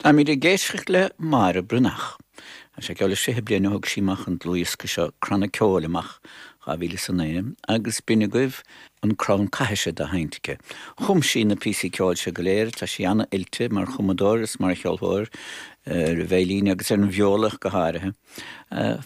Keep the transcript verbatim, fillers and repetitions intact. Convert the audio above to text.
Táimid ag éisteacht le Máire Breathnach. Tá sé ceol sé bliana thug sí amach an dlúthdhiosca seo Cranna Ceoil amach dhá mhíle is a naoi agus b'in agaibh an crann caithis dá sheinnt aici. Chum sí na píosaí ceoil seo go léir, tá sí an-oilte mar chumadóir is mar cheoltóir ar an veidhlín agus ar an bhiola go háirithe.